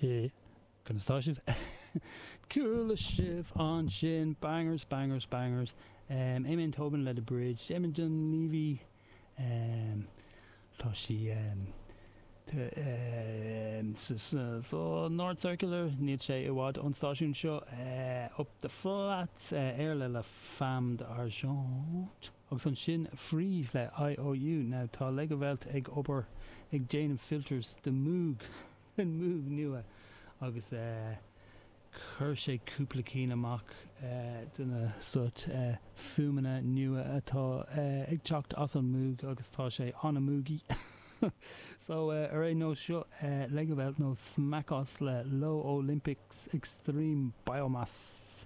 Conas tá sibh? Chuala sibh ansin bangers, bangers, bangers. Amon Tobin le The Bridge, Damon Dunleavy, tá sí sa North Circular, níl sé i bhfad ón stáisiún seo, Up the Flats, Iarla le Femme d'Argent, agus ansin Freeze le IOU. Now tá Legowelt ag obair ag déanamh filters do Moog. den Moog nua agus chuir sé cúpla cinn amach de na sort fuaimeanna nua atá ag teacht as an Moog agus tá sé an-Moogy. So ar aon nós seo Legowelt nó Smackos le Low Olympics Extreme Biomass.